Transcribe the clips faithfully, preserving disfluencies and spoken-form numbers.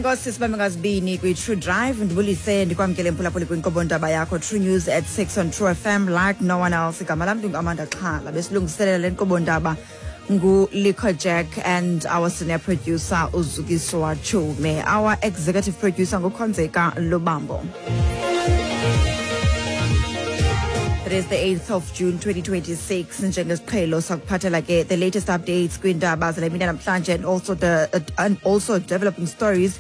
Enkosi, sibambe ngazibini kwi-True Drive. Ndibulise, ndikwamkele, mphulaphuli, kwinkqubo ndaba yakho True News at six on True F M like no one else. Igama lam ndinguAmanda Xhala. Besilungiselela le nkqubo ndaba nguLico Jack and our senior producer uZukiswa Chume. Our executive producer nguKhonzeka Lubambo. It is the eighth of June twenty twenty-six. Njengesiqhelo sakuphathela ke the latest updates kwiindaba zale mini namhlanje and also the uh, and also developing stories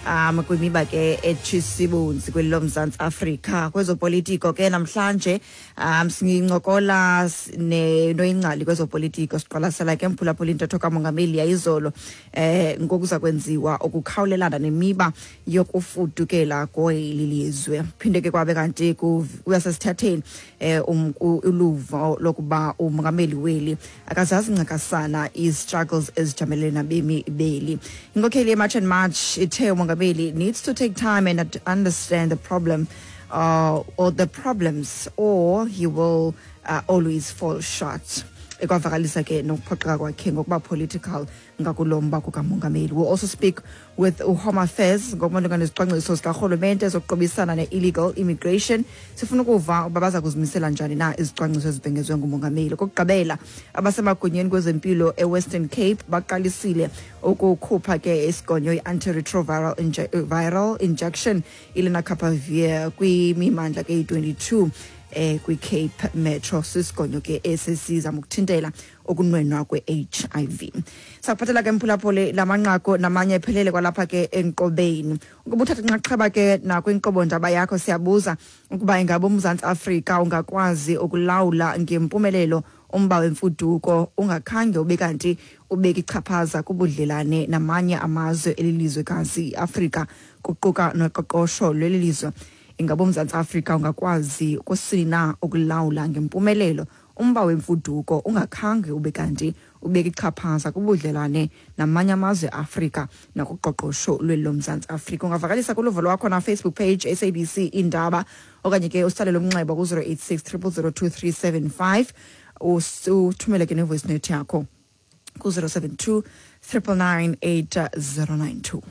um kwimiba ke etshisibunzi kweli loMzantsi Afrika. Kwezopolitiko ke namhlanje um singincokola noyingcali kwezopolitiko. Siqwalasela ke, mphulaphula, intetho kamongameli yayizolo eh ngokuza kwenziwa ukukhawulelana nemiba yokufudukela kweli lizwe. Phinde ke kwabe kanti kuyasesithatheni eh um, uluvo lokuba umongameli weli akazazi ncakasana i-struggles ezijamelene nabemi beli. Inkokheli ye-March and March ithe umongameli needs to take time and understand the problem uh, or the problems, or he will uh, always fall short. Ekwavakalisa ke nokuphoxeka kwakhe ngokuba political ngakulo mba kukamongameli. We'll also speak with uHome Affairs ngokumalunga nezicwangciso zikarhulumente zokuqubisana ne-illegal immigration. Sifuna ukuva uba baza kuzimisela njani na izicwangciso ezibhengezwe ngumongameli. Okokugqibela, abasemagunyeni kwezempilo eWestern Cape baqalisile ukukhupha ke isigonyo i-antiretroviral inje viral injection ilenacapavir kwimimandla ke iyi-twenty-two eh kwi-Cape Metro. Sisigonyo ke esisizama ukuthintela ukunwenwa kwe-H I V. Sakuphathela ke, mphulaphuli, lamanqaku namanye ephelele kwalapha ke enkqobeni. Ukuba uthatha inxaxheba ke nakwinkqubo ndaba yakho, siyabuza ukuba ingaba uMzantsi Afrika ungakwazi ukulawula ngempumelelo umba wemfuduko ungakhange ube kanti ubeka ichaphaza kubudlelane namanye amazwe elilizwekazi iAfrika, kuquka noqoqosho lweli lizwe. Ingaba uMzantsi Afrika ungakwazi kusini na ukulawula ngempumelelo umba wemfuduko ungakhange ube kanti ubeka ichaphaza kubudlelwane namanye amazwe eAfrika nakuqoqosho lweli loMzantsi Afrika? Ungavakalisa kuluvo lwakho na Facebook page S A B C Indaba, okanye ke usalele umnxeba ku-zero eight six zero zero zero two three seven five, uthumele ke nevoice note yakho ku-zero seven two nine nine nine eight zero nine two.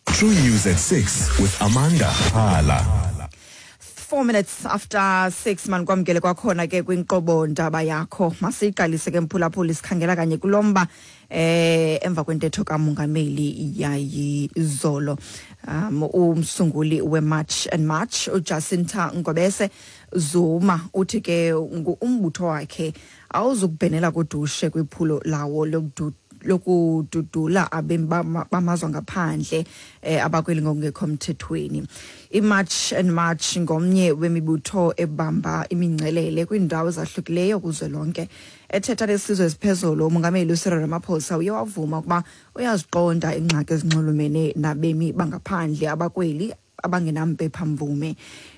True News at six with Amanda Hala. Four minutes after six, manikwamkele kwakhona ke kwinkqubo ndaba yakho. Masiyiqalise ke, mphulaphuli, sikhangela kanye kulomba eh emva kwentetho kamongameli yayizolo. um umsunguli we-March and March uJacinta Ngobese Zuma uthi ke umbutho wakhe awuzukubhenela kudushe kwiphulo lawo lokudu lokududula abemi bamazwe ngaphandle eh, abakweli ngokungekho mthethweni. I-March and March ngomnye wemibutho ebamba imingcelele kwiindawo ezahlukileyo kuzwelonke. Ethetha lesizwe esiphezulu, umongameli uCyril Ramaphosa uye wavuma ukuba uyaziqonda iingxaki ezinxulumene nabemi bangaphandle abakweli abangenampepha mvume.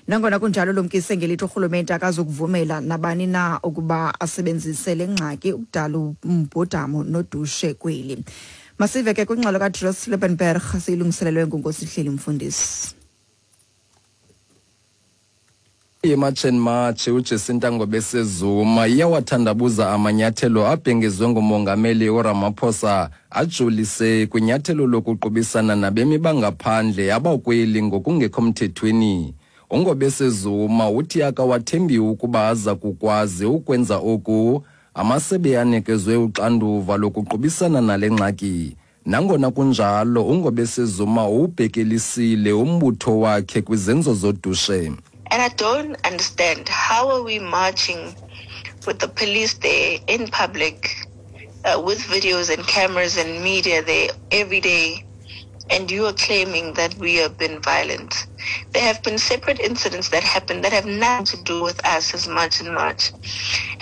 Nangona kunjalo, lumkise ngelithi urhulumente akazukuvumela nabani na ukuba asebenzise le ngxaki ukudala umbhodamo nodushe kweli. Masive ke kwingxelo kaDros Liebenberg, siyilungiselelwe nguNkosihleli Mfundisi. I-March and March uJacinta Ngobese Zuma iyawathandabuza amanyathelo abhengezwe ngumongameli uRamaphosa ajolise kwinyathelo lokuqubisana nabemi bangaphandle abakweli ngokungekho mthethweni. UNgobese Zuma uthi akawathembi ukuba aza kukwazi ukwenza oku amasebe anikezwe uxanduva lokuqubisana nale ngxaki. Nangona kunjalo, uNgobese Zuma uwubhekelisile umbutho wakhe kwizenzo zodushe. And I don't understand, how are we marching with the police there in public, uh, with videos and cameras and media there every day, and you are claiming that we have been violent? There have been separate incidents that happened that have nothing to do with us as March and March.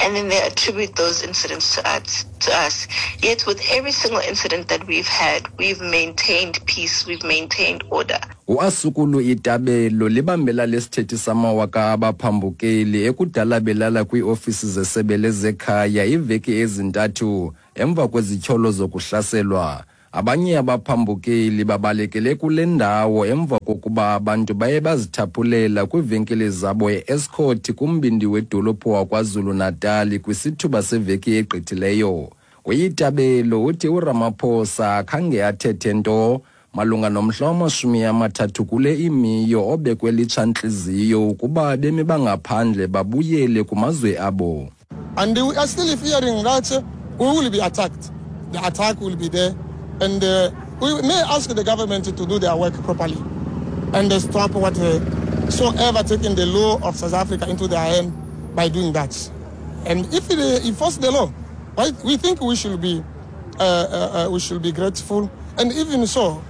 And then they attribute those incidents to us. To us. Yet with every single incident that we've had, we've maintained peace, we've maintained order. UAsukulu Itabelo libambela lesithethi samawaka abaphambukeli ekudala belala kwiiofisi zesebe lezekhaya iiveki ezintathu emva kwezityholo zokuhlaselwa. Abanye abaphambukeli babalekele kule ndawo emva kokuba abantu baye bazithaphulela kwiivenkile zabo e-Estcourt kumbindi wedolophu wakwaZulu-Natal kwisithuba seveki egqithileyo. UYitabelo uthi uRamaphosa akhange athethe nto Malunga nomhla wamashumi amathathu kule imiyo obekwe litshantliziyo ukuba abemi bangaphandle babuyele kumazwe abo. And we are still fearing that we will be attacked. The attack will be there, and uh, we may ask the government to do their work properly and stop whatsoever taking the law of South Africa into their hand by doing that. And if they enforce the law, right, we think we should be uh, uh, we should be grateful. And even so,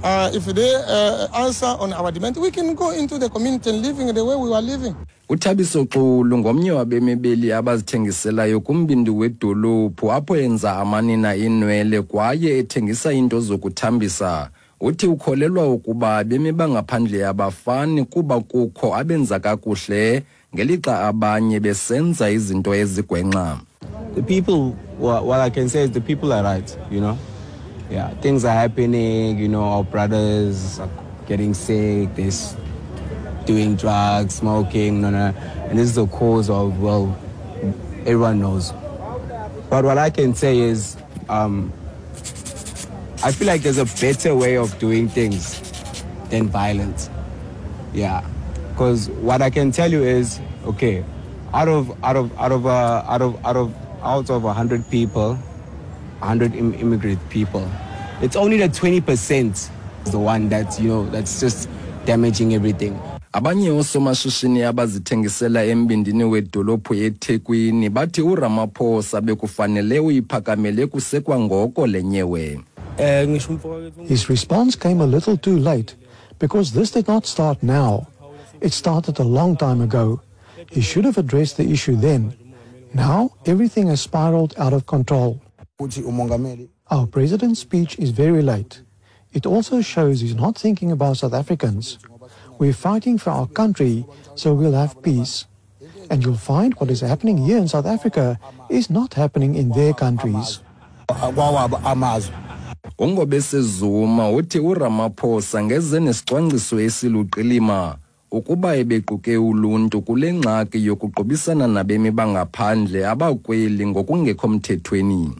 uh, if they uh, answer on our demand, we can go into the community and living the way we were living. UThabiso Xulu ngomnye wabemibeli abazithengiselayo kumbindi wedolophu apho enza amanina inwele kwaye ethengisa into zokuthambisa. Uthi ukholelwa ukuba abemi bangaphandle abafani kuba kukho abenza kakuhle ngelixa abanye besenza izinto ezigwenxa. The people, what I can say is the people are right, you know. Yeah, things are happening, you know, our brothers are getting sick, they're doing drugs, smoking, no, no. And this is the cause of, well, everyone knows. But what I can say is, um, I feel like there's a better way of doing things than violence. Yeah, because what I can tell you is, okay, out of out of out of uh, out of out of out of a hundred people, a hundred im- immigrant people, it's only the twenty percent the one that's, you know, that's just damaging everything. Abanye oosomashishini abazithengisela embindini wedolophu eThekwini bathi uRamaphosa bekufanele uyiphakamele kusekwangoko le nyewe. His response came a little too late, because this did not start now. It started a long time ago. He should have addressed the issue then. Now everything has spiraled out of control. Our president's speech is very late. It also shows he's not thinking about South Africans. We're fighting for our country, so we'll have peace. And you'll find what is happening here in South Africa is not happening in their countries. UNgobese Zuma uthi uRamaphosa ngeze nesicwangciso esiluqilima ukuba ebequke uluntu kule ngxaki yokuqubisana nabemi bangaphandle abakweli ngokungekho mthethweni.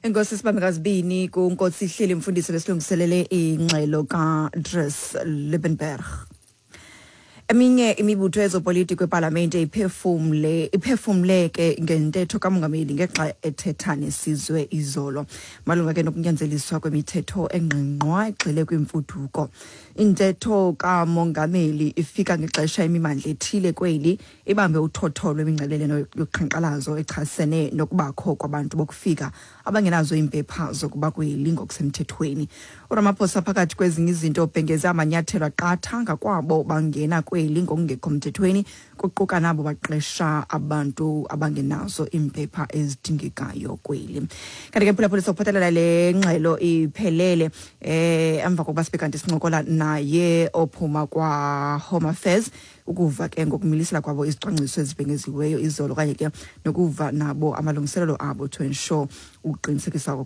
Enkosi sibambekazibini kuNkosi Hleli Mfundisi besilungiselele ingxelo kaDries Liebenberg. Eminye imibutho yezopolitiko epalamente iphefumle iphefumleke ngentetho kamongameli ngexa ethetha nesizwe izolo malunga ke nokunyanzeliswa kwemithetho engqingqwa egxile kwimfuduko. Intetho kamongameli ifika ngexesha imimandla ethile kweli ibambe uthotho lwemingcelele yoqhankqalazo echasene nokubakho kwabantu bokufika abangenazo iimpepha zokuba kweli ngokusemthethweni. uRamaphosa phakathi kwezinye izinto ubhengeze amanyathelo aqatha ngakwabo bangena kweli ngokungekho mthethweni, kuquka nabo baqesha abantu abangenazo iimpepha ezidingekayo kweli. Kanti ke phulaphula sokuphathelela le ngxelo iphelele eh emva kokuba sibe kanti sincokola naye ophuma kwa Home Affairs ukuva ke ngokumilisela kwabo izicwangciso ezibhengeziweyo izolo okanye ke nokuva nabo amalungiselelo abo to ensure ukuqinisekisa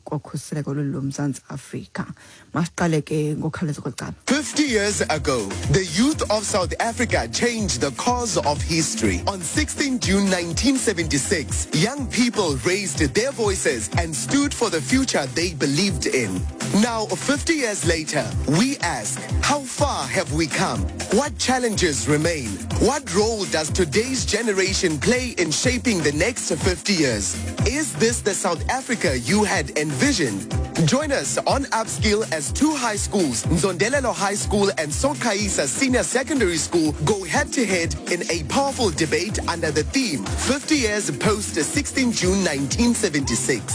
kokhuseleko lomZantsi Afrika. Masiqale ke ngokukhawuleza kwecala. fifty years ago, the youth of South Africa changed the course of history. On sixteenth June nineteen seventy-six, young people raised their voices and stood for the future they believed in. Now, fifty years later, we ask, how far have we come? What challenges remain? What role does today's generation play in shaping the next fifty years? Is this the South Africa you had envisioned? Join us on Upskill as two high schools, Nzondelelo High School and Sokaisa Senior Secondary School, go head-to-head in a powerful debate under the theme fifty years post sixteenth June nineteen seventy-six.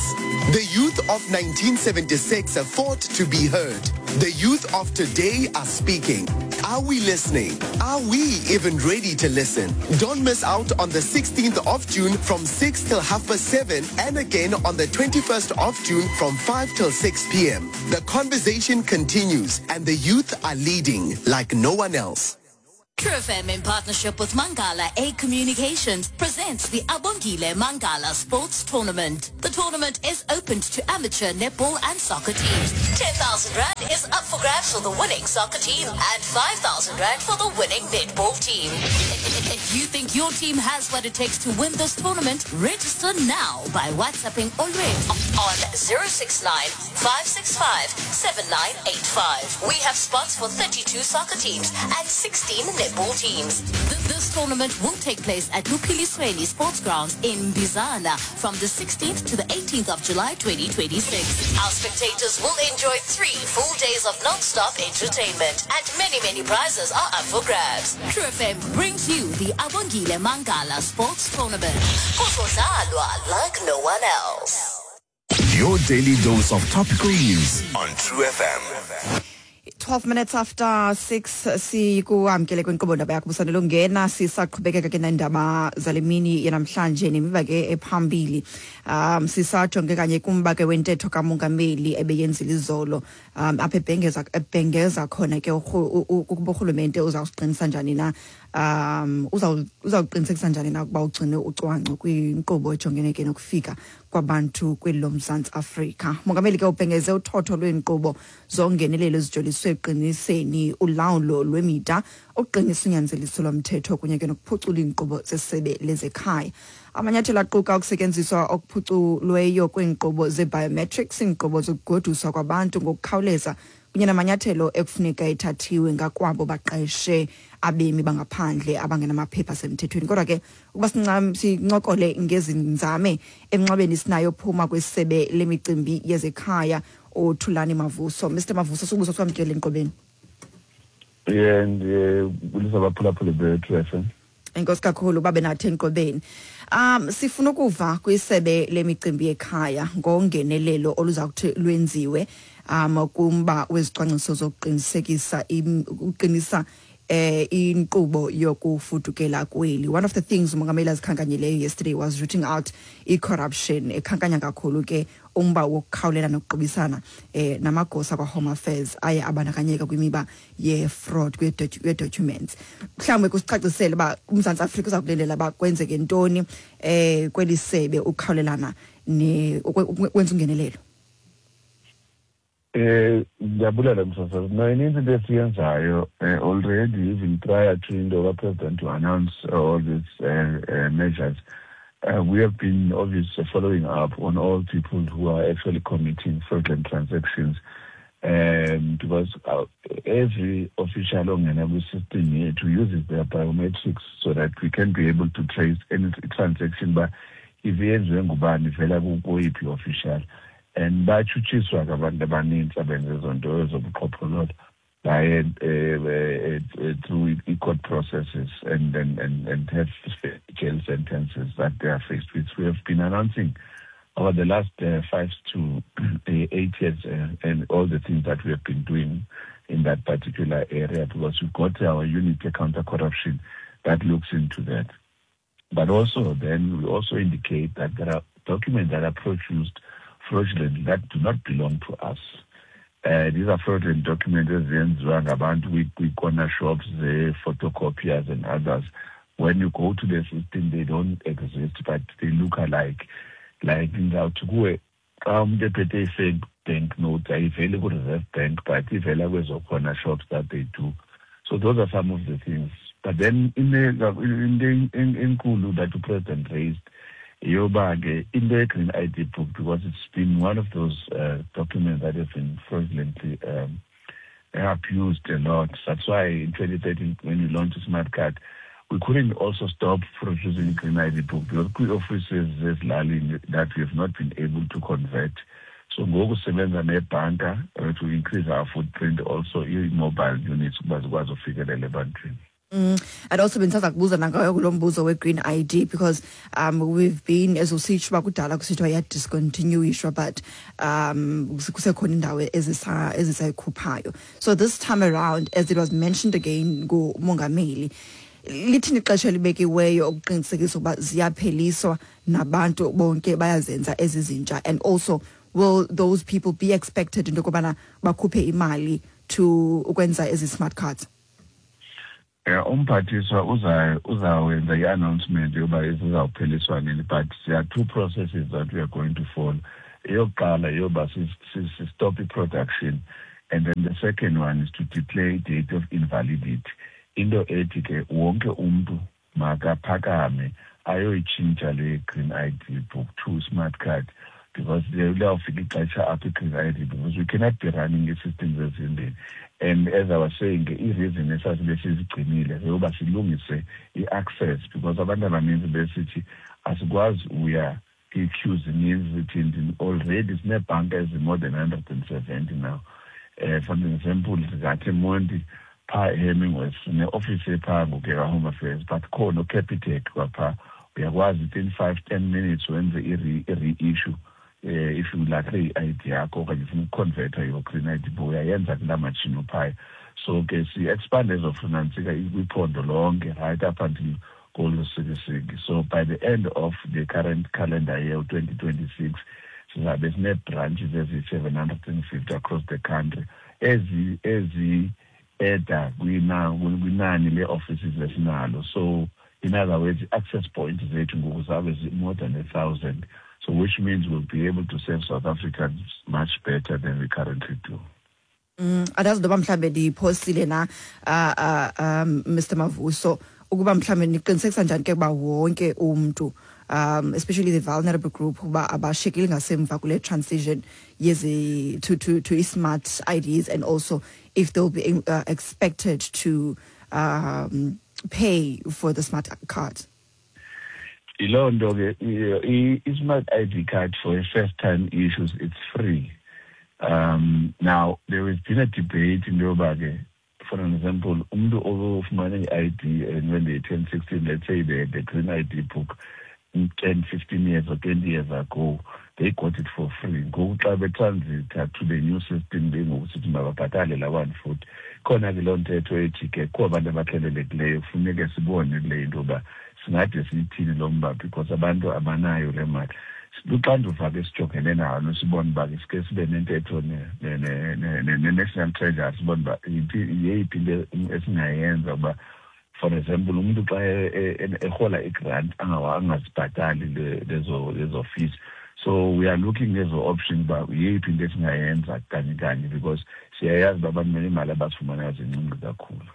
The youth of nineteen seventy-six fought to be heard. The youth of today are speaking. Are we listening? Are we even ready to listen? Don't miss out on the sixteenth of June from six till half past seven and again on the twenty-first of June from five till six p.m. The conversation continues and the youth are leading like no one else. True F M, in partnership with Mangala A Communications, presents the Abongile Mangala Sports Tournament. The tournament is open to amateur netball and soccer teams. ten thousand rand is up for grabs for the winning soccer team and five thousand rand for the winning netball team. If you think your team has what it takes to win this tournament, register now by WhatsApping Olwethu on zero six nine, five six five, seven nine eight five. We have spots for thirty-two soccer teams and sixteen netball teams. Th- This tournament will take place at Luphilisweni Sports Grounds in Bizana from the sixteenth to the eighteenth of July twenty twenty-six. Our spectators will enjoy three full days of non-stop entertainment, and many, many prizes are up for grabs. True F M brings you the Abongile Mangala Sports Tournament. Kuzodlalwa like no one else. Your daily dose of topical news on True F M. twelve minutes after six, sikuamkele kwinkqubo ndaba yakho busanele ungena. Sisaqhubekeka ke nendaba zale mini yanamhlanje nemiba ke ephambili. um sisajonge kanye kumba ke wentetho kamongameli ebeyenzile izolo, um apha ebhengeza ebhengeza khona ke urhu- u- ukuba urhulumente uzawusiqinisa njani na, um uzawuqinisekisa njani na ukuba ugcine ucwangco kwinkqubo ejongene ke nokufika kwabantu kweli loMzantsi Afrika. Mongameli ke ubhengeze uthotho lweenkqubo zongenelelo ezijoliswe ekuqiniseni ulawulo lwemida, ukuqinisa unyanzeliso lomthetho kunye ke nokuphucula iinkqubo zesebe lezekhaya. Amanyathelo aquka ukusetyenziswa okuphuculweyo kweenkqubo ze-biometrics, iinkqubo zokugoduswa kwabantu ngokukhawuleza kunye namanyathelo ekufuneka ethathiwe ngakwabo baqeshe abemi bangaphandle abangenamaphepha asemthethweni. Kodwa ke ukuba sincam- sincokole ngezi nzame, emnxebeni sinayo phuma kwisebe lemicimbi yezekhaya uThulani Mavuso. Mister Mavuso, subuso, sikwamkele enkqubeni. Yeah, ndibulisa abaphulaphuli be-True F M. Enkosi kakhulu babe nathi enkqubeni. um sifuna ukuva kwisebe lemicimbi yekhaya ngongenelelo oluza kuthi lwenziwe um kumba wezicwangciso zokuqinisekisa im- ukuqinisa eh inkqubo yokufudukela kweli. One of the things umongameli azikhankanyileyo yesterday was rooting out i-corruption, ekhankanya kakhulu ke umba wokukhawulela nokuqubisana eh namagosa kwa-Home Affairs aye abandakanyeka kwimiba ye-fraud kwe-documents. Mhlawumbi kusicacisele uba uMzantsi Afrika uza kulilela uba kwenzeke ntoni eh kweli sebe ukukhawulelana ne ukwe- ukwenza ungenelelo. Eh ndiyabulela, msasazi. No, ininzi into esiyenzayo eh, already, even prior to into kapresident to announce all these uh, uh, measures. Uh, we have been obviously following up on all people who are actually committing fraudulent transactions. Um, because uh, every official ongena kwi-system yethu uses their biometrics so that we can be able to trace any transaction ba if yenziwe ngubani, ivela kuyiphi official, and batshutshiswa ke abantu abanintsi abenze ezo nto ezobuqhophololo baye eh, eh, through i-court processes and, and, and, and have jail sentences that they are faced with. We have been announcing over the last uh, five to eight years uh, and all the things that we have been doing in that particular area, because we've got our unit, counter corruption, that looks into that. But also then we also indicate that there are documents that are produced fraudulently that do not belong to us. Uh, these are fraudulent documents ezenziwa ngabantu kwi-corner shops, the photocopiers and others. When you go to the system, they don't exist, but they look alike. Like ndizawuthi kuwe, xa umntu ephethe i-fake bank note, ayiveli ku-Reserve Bank, but ivela kwezo corner shops that they do. So those are some of the things. But then into enkulu that the president raised yoba ke into ye-green I D book, because it's been one of those uh, documents that have been fraudulently um, abused a lot. That's why in twenty thirteen, when we launched the smart card, we couldn't also stop producing green I D book, because kwi-offices zezilalini that we have not been able to convert. So ngoku sisebenza nebhanka uh, to increase our footprint, also i-mobile units, ukuba zikwazi ufikelela ebantwini. Mm. And also bendisaza kubuza nangayo kulo mbuzo we-green I D, because um we've been, as usitsho uba kudala kusithiwa iyadiscontinuishwa, but um kusekhona indawo ezisa ezisayikhuphayo. So this time around, as it was mentioned again ngumongameli, lithini ixesha elibekiweyo ukuqinisekisa ukuba ziyapheliswa nabantu bonke bayazenza ezi zintsha? And also, will those people be expected into yokubana bakhuphe imali to ukwenza ezi smart cards? Yeah, umphathiswa uza uzawenza i-announcement yoba izawupheliswa nini but there are two processes that we are going to follow. Eyokuqala yoba si-stop i-production and then the second one is to declare date of invalidity. Into ethi ke wonke umntu makaphakame ayoyitshintsha le green ID book to smart card because liyawufika ixesha apho i-green ID because we cannot be running ii-systems ezimbini. And as I was saying, i-reason esasibe sizigcinile yeyoba silungise i-access because abantu abaninzi besithi asikwazi uya ii-queues zininzi zithini already sineebhanka ezi-more than hundred and seventy now. Uh, for example, singathi eMonti phaa eHemingworth sineofisi ephaa ngoku ekaHome Affairs but khona uCapitec kwaphaa uyakwazi within five ten minutes wenze i-reissue eh if ulahle i-ID yakho okanye ufuna ukuconverta your green ID book uyayenza kulaa matshini uphaya. So ke si-expand ezofunantsika kwiphondo lonke right up until kolusikisiki. So by the end of the current calendar year twenty twenty-six sizabe sinee-branches eziyi-seven hundred and fifty across the country ezi ezi-eda kwinani lee-offices esinalo. So in other words, i-access point zethu ngoku zabe more than a thousand. So which means we'll be able to serve South Africans much better than we currently do. Mm, andazi noba mhlambe ndiyiphosile na uh, uh, um, Mr Mavuso ukuba mhlambe niqinisekisa njani ke ukuba wonke umntu um, especially the vulnerable group uba abashiyekile ngasemva kule transition yezi to, to, to smart I Ds and also if they'll be uh, expected to um, pay for the smart card. Yiloo nto ke i-smart I D card for first time issues, it's free. Um, now, there has been a debate in yoba ke, for an example, umntu ofumane i-I D and when they turn sixteen, let's say the, the green I D book ten, fifteen years or twenty years ago, they got it for free. Ngoku xa betransita to the new system, bengokusithi mababhatale la one foot. Khona ke loo ntetho ethi ke kukho abantu abahlelelekileyo kufuneke sibone kule into yoba singade siyithini lo mba because abantu abanayo le mali. Luxanduva ke sijongene nalo sibone uba ke sike sibe nentetho ne-National Treasury sibone uba yeyiphi into esingayenza uba for example umntu xa erhola igrant angazibhatali lezo lezo fees. So we are looking ezo option uba yeyiphi into esingayenza kanye kanye because siyayazi uba abantu nemali abazifumanayo zincinci kakhulu.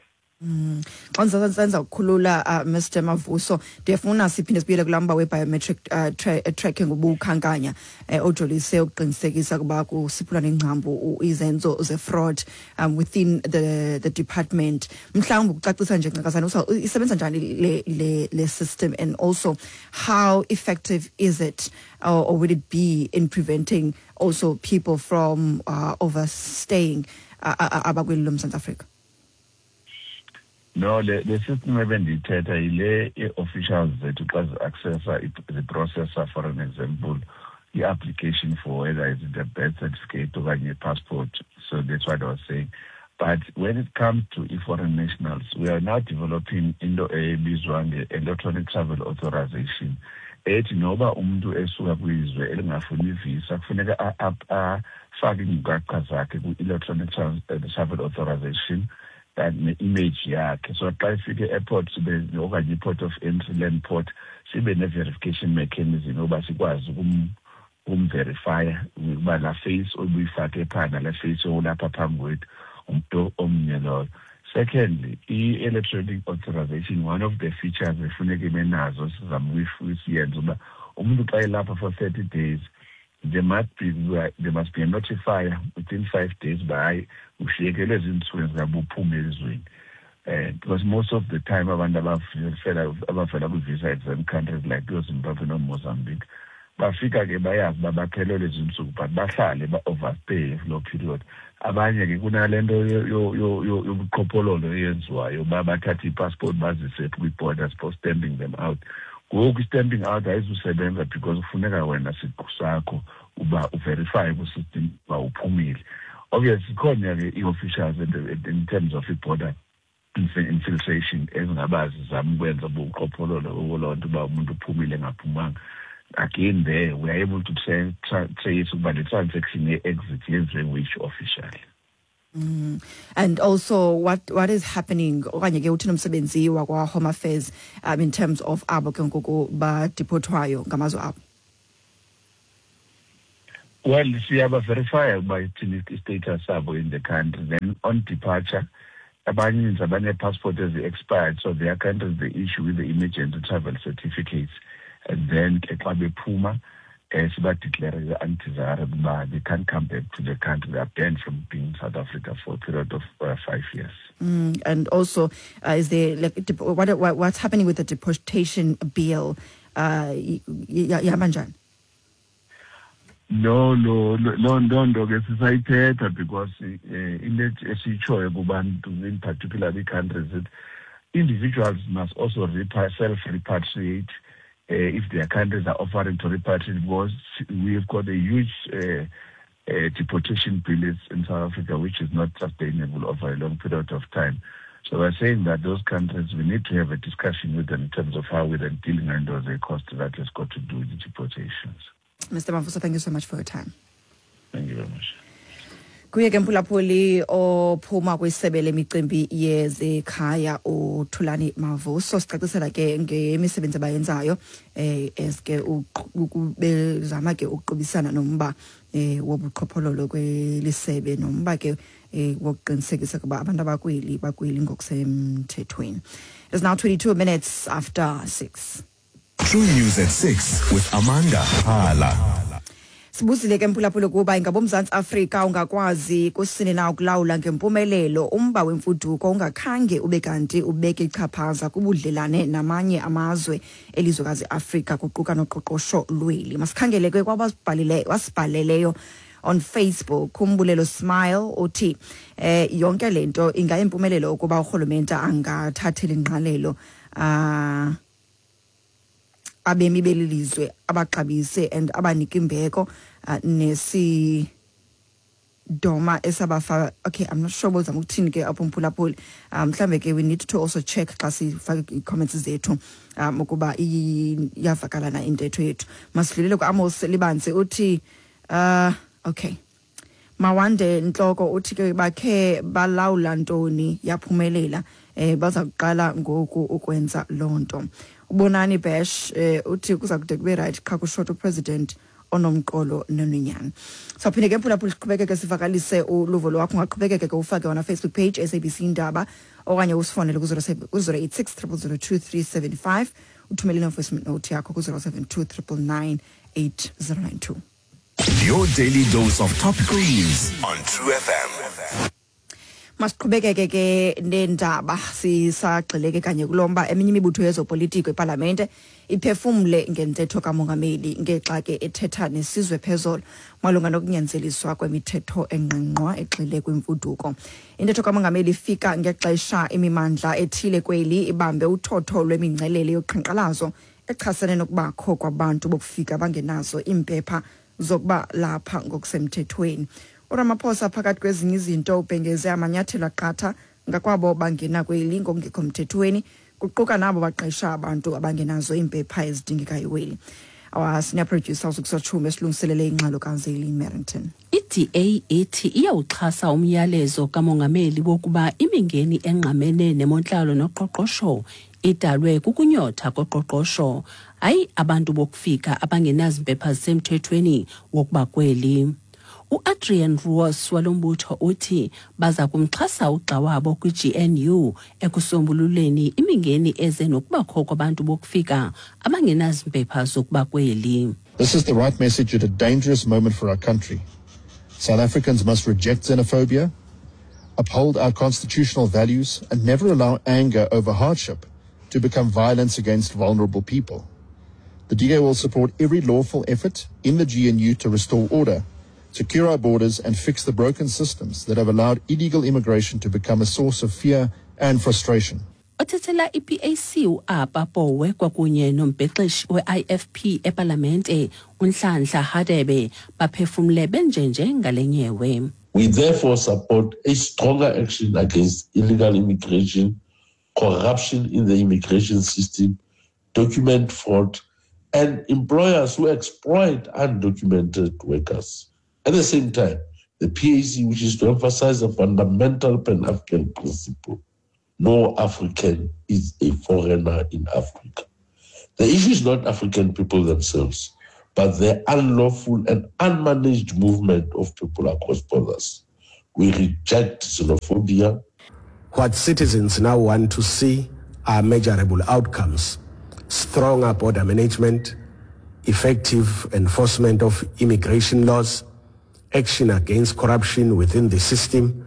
Mm. Xa ndisenza ukukhulula uh, Mister Mavuso ndiyafuna siphinde sibuyele kulaa mba we-biometric uh, tra tracking ubukhankanya eh, ojolise ukuqinisekisa ukuba kusiphula nengcambu izenzo ze-fraud um, within the, the department. Mhlawumbi ukucacisa nje ncakasana isebenza njani le, le, le system and also how effective is it or, or would it be in preventing also people from uh, overstaying uh, abakweli loMzantsi Afrika? No, the, the system ebendiyithetha yile ii-officials zethu xa zi-accessa ziprocessa for an example i-application for whether it's the birth certificate okanye i-passport. So that's what I was saying. But when it comes to i-foreign nationals, we are now developing into ebizwa nge-electronic travel authorization. Ethi noba umntu esuka kwizwe elingafuni ivisa kufuneka afake iinkcukacha zakhe kwi-electronic travel authorization ne-image yakhe. So xa ifike e-airport sibe okanye i-port of entry, land port, sibe ne-verification mechanism yoba sikwazi ukumverifya ukuba laa face obuyifake phaa nalaa face olapha phambi kwethu umntu omnye loyo. Secondly, i-electronic authorization, one of the features efuneka ibe nazo sizama usiyenza uba umntu xa elapha for thirty days there must be there must be a notifier within five days uba hayi ushiyekelwe ziintsuku ezingabe uphume elizweni. Uh, because most of the time abantu abavela abavela kwi-visa exempt countries like ooZimbabwe nooMozambique bafika ke bayazi uba baphelelwe ziintsuku but bahlale ba-overstay kuloo period. Abanye ke kunale nto yobuqhophololo eyenziwayo uba bathathe iipassport bazise kwii-borders for stamping them out. Ngoku i-stamping out ayizusebenza because kufuneka wena siqu sakho uba uverifye kwi-system uba uphumile. Obviously khona ke ii-officials in terms of i-border infiltration ezingaba zizama ukwenza ubuqhophololo loo nto uba umuntu uphumile engaphumanga. Again there we are able to trace ukuba le transaction ye-exit yenziwe which official. Mm. And also what what is happening okanye ke uthini umsebenzi wakwa Home Affairs um, in terms of abo ke ngoku badeportwayo ngamazwe abo? Well, siyaba-verify ukuba ithini i-status sabo in the country. Then on departure, abaninzi abanee-passport ezi-expired, so their countries they issue with the emergency travel certificates. And then ke xa bephuma, eh, siba-declare undesirable uba they can't come back to the country. They are banned from being in South Africa for a period of uh, five years. Mm, and also, uh, is there like what, what what's happening with the deportation bill? Uh, ihamba njani? No, no, no, no, nto ke sisayithetha because uh, into esiyitshoyo kubantu, in particular the countries, that individuals must also self-repatriate uh, if their countries are offering to repatriate, because we've got a huge uh, uh, deportation bill in South Africa, which is not sustainable over a long period of time. So we're saying that those countries, we need to have a discussion with them in terms of how we're then dealing with the cost that has got to do with the deportations. Mister Mavuso, thank you so much for your time. Thank you very much. Kuye ke mphulaphuli ophuma kwisebe lemicimbi yezekhaya uThulani Mavuso, sicacisela ke ngemisebenzi abayenzayo eh eske bezama ke ukuqubisana nomba eh wobuqhophololo kwelisebe nomba ke eh wokuqinisekisa kuba abantu abakweli bakweli ngokusemthethweni. It's now twenty-two minutes after six. True News at six with Amanda Hala. Sibuzile ke mphulaphula kuba ingaba uMzantsi Afrika ungakwazi kusini na ukulawula ngempumelelo umba wemfuduko ungakhange ube kanti ubeke ichaphaza kubudlelane namanye amazwe elizwekazi Afrika kuquka noqoqosho lweli. Masikhangele ke kwabasibhalile wasibhaleleyo on Facebook. Umbulelo Smile uthi eh yonke lento ingayimpumelelo ukuba urhulumente angathathela ingqalelo ah abemi belilizwe abaxabise and abanika imbeko uh, nesi doma esabafa. Okay, I'm not sure bozama ukuthini ke apho mphulaphuli. Mhlambe ke we need to also check xa sifake i-comments zethu um ukuba iyavakala na intetho yethu. Masidlulele ku-Amos Libanzi uthi uh okay Mawande Ntloko uthi ke bakhe balawula ntoni yaphumelela eh baza kuqala ngoku ukwenza lonto. Ubonani Bash eh uthi kuza kude kube right qha kushota upresident onomqolo nononyana. Sawuphinde ke mphulaphula siqhubekeke sivakalise uluvo lwakho, ungaqhubekeke ke ufake on Facebook page S A B C Indaba okanye usifonele ku zero eight six triple zero two three seven five uthumele ne-voice note yakho ku zero seven two triple nine eight zero nine two. Your daily dose of topical news on True F M. Masiqhubekeke ke nendaba sisagxileke kanye kulomba eminye imibutho yezopolitiko eParlamente iphefumle ngentetho kamongameli ngexa ke ethetha nesizwe phezolo malunga nokunyanzeliswa kwemithetho engqingqwa egxile kwimfuduko. Intetho kamongameli ifika ngexesha imimandla ethile kweli ibambe uthotho lwemingcelele yoqhankqalazo echasene nokubakho kwabantu bokufika abangenazo iimpepha zokuba lapha ngokusemthethweni. uRamaphosa phakathi kwezinye izinto ubhengeze amanyathelo aqatha ngakwabo bangena kweli ngokungekho mthethweni kuquka nabo baqesha abantu abangenazo iimpepha ezidingekayo kweli. Our senior producer uSukusachume esilungiselele ingxelo kaZeli Merrington. I-D A ithi iyawuxhasa umyalezo kamongameli wokuba imingeni engqamene nemontlalo noqoqosho idalwe kukunyotha koqoqosho, hayi abantu bokufika abangenazimpepha zisemthethweni wokuba kweli. U-Adrian Roos walombutho uthi baza kumxhasa ugxa wabo kwi-G N U ekusombululeni imingeni eze nokubakho kwabantu bokufika abangenazimpepha zokuba kweli. This is the right message at a dangerous moment for our country. South Africans must reject xenophobia, uphold our constitutional values, and never allow anger over hardship to become violence against vulnerable people. The D A will support every lawful effort in the G N U to restore order, secure our borders, and fix the broken systems that have allowed illegal immigration to become a source of fear and frustration. Othethela i-P A C u-Apa Powe kwakunye nombhexeshi we-I F P ePalamente uNhlanhla Hadebe baphefumle benjenje ngale nyewe. We therefore support a stronger action against illegal immigration, corruption in the immigration system, document fraud, and employers who exploit undocumented workers. At the same time, The P A C wishes to emphasize a fundamental Pan-African principle. No African is a foreigner in Africa. The issue is not African people themselves, but the unlawful and unmanaged movement of people across borders. We reject xenophobia. What citizens now want to see are measurable outcomes, stronger border management, effective enforcement of immigration laws, action against corruption within the system,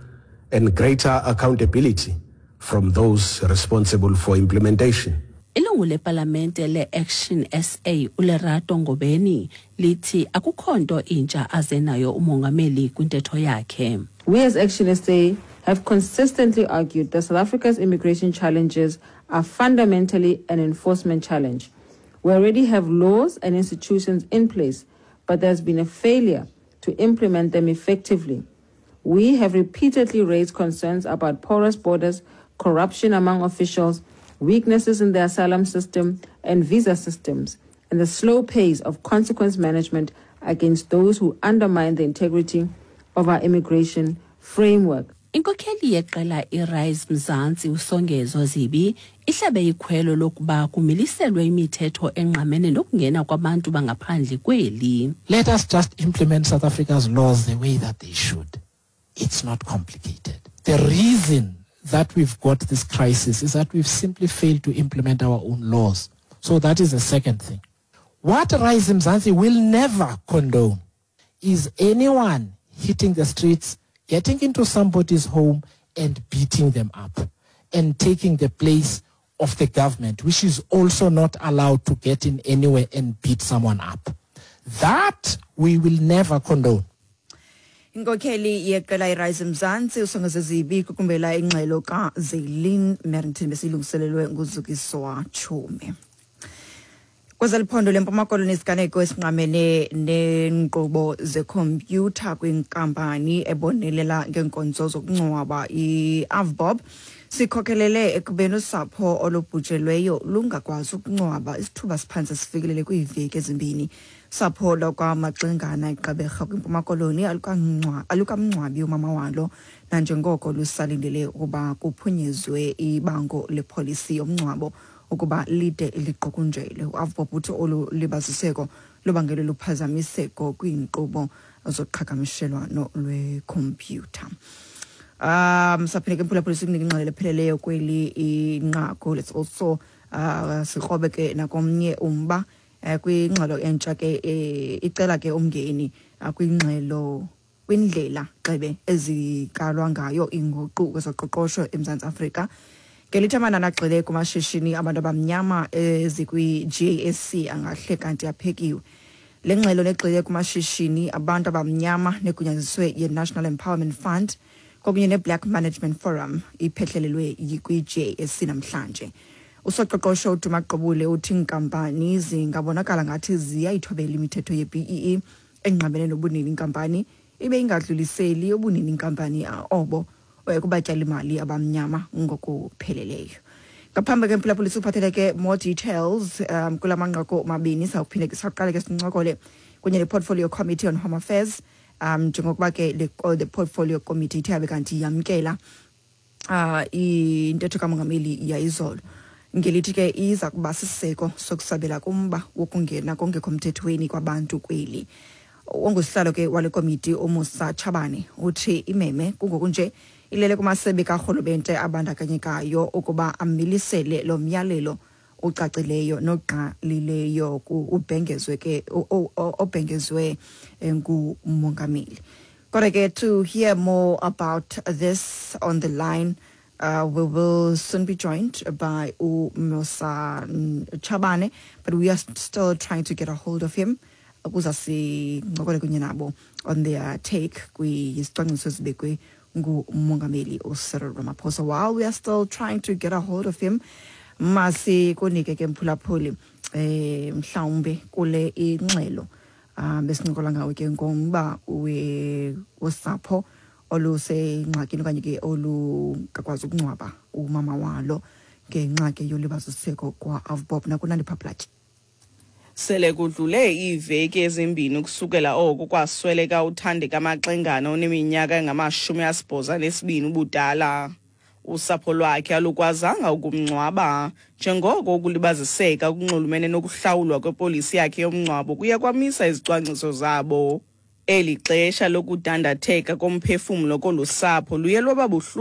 and greater accountability from those responsible for implementation. Ilungu lepalamente le-Action S A uLerato Ngobeni lithi akukho nto intsha aze nayo umongameli kwintetho yakhe. We as Action S A have consistently argued that South Africa's immigration challenges are fundamentally an enforcement challenge. We already have laws and institutions in place, but there's been a failure to implement them effectively. We have repeatedly raised concerns about porous borders, corruption among officials, weaknesses in the asylum system and visa systems, and the slow pace of consequence management against those who undermine the integrity of our immigration framework. Inkokheli yeqela iRise Mzansi uSongezo Zibi ihlabe ikhwelo lokuba kumiliselwe imithetho engqamene nokungena kwabantu bangaphandle kweli. Let us just implement South Africa's laws the way that they should. It's not complicated. The reason that we've got this crisis is that we've simply failed to implement our own laws. So that is the second thing. What Rise Mzansi will never condone is anyone hitting the streets, getting into somebody's home and beating them up and taking the place of the government, which is also not allowed to get in anywhere and beat someone up. That we will never condone. Inkokheli yeqela iRise Mzansi uSongezo Zibi kukumbela ingxelo kaZelin Merrington besilungiselelwe nguZukiswa Chume. Kwezeliphondo leMpuma Koloni isiganeko esinqamene neenkqubo zekhompyutha kwinkampani ebonelela ngeenkonzo zokungcwaba i-AVBOB sikhokhelele ekubeni usapho olubhujelweyo lungakwazi ukungcwaba isithuba siphantse sifikelele kwiiveki ezimbini. Sapho lakwaMaxingana eGqeberha kwiMpuma Koloni alukamngcwabi umama walo nanjengoko lusalindele ukuba kuphunyezwe ibango lepolisi yomngcwabo ukuba lide liqukunjelwe. U-AVBOB uthi olu libaziseko lubangelwe luphazamiseko kwiinkqubo zoqhagamshelwano lwekhompyutha. Um saphinde ke mphulaphuli sikunike ingxelo epheleleyo kweli inqaku. Let's also uh sikrobe ke nakomnye umba kwingxelo entsha ke icela ke umngeni kwingxelo kwindlela xebe ezikalwa ngayo inguqu kwezoqoqosho eMzantsi Afrika. Ngelithi amanani agxile kumashishini abantu abamnyama ezikwi-J S C angahle kanti aphekiwe. Le ngxelo negxile kumashishini abantu abamnyama negunyaziswe ye-National Empowerment Fund kwakunye ne-Black Management Forum iphehlelelwe kwi-J S C namhlanje. Usoqoqosho uDuma Gqubule uthi inkampani zingabonakala ngathi ziyayithobela imithetho ye-B E E engqamene nobunini inkampani ibe ingadluliseli ubunini inkampani obo kubatyalimali abamnyama ngokupheleleyo. Ngaphambi ke mphulaphuli siphathele ke more details um kula manqaku mabini sawuphinde ke saqale ke sincokole kunye ne-Portfolio Committee on Home Affairs um njengokuba ke le the Portfolio Committee ithe yabe kanti yamkela uh intetho kamongameli yayizolo ngelithi ke iza kuba siseko sokusabela kumba wokungena kongekho mthethweni kwabantu kweli. Ongusihlalo ke wale komiti uMusa Chabane uthi imeme kungokunje ilele kumasebe karhulumente abandakanyekayo ukuba amilisele lo myalelo ucacileyo nogqalileyo ubhengezwe ke obhengezwe ngumongameli. Kodwa ke to hear more about this on the line, uh, we will soon be joined by uMusa Chabane, but we are still trying to get a hold of him ukuze sincokole kunye nabo on their take kwisicwangciso esibekwe ngumongameli uCyril Ramaphosa. While we are still trying to get a hold of him, masikunike ke mphulaphuli eh mhlawumbe kule ingxelo um besincokola ngawo ke ngomba wosapho olusengxakini okanye ke olungakwazi ukungcwaba umama walo ngenxa ke yolibaziseko kwa-AVBOB. Nakunandipha Plaatje. Sele kudlule iiveki ezimbini ukusukela oko kwasweleka uThandeka Maxengana oneminyaka engamashumi asibhozo anesibini ubudala. Usapho lwakhe alukwazanga ukumngcwaba njengoko ukulibaziseka okunxulumene nokuhlawulwa kwepolisi yakhe yomngcwabo kuye kwamisa izicwangciso zabo. Eli xesha lokudandatheka komphefumlo kolu sapho luye lwaba buhlungu.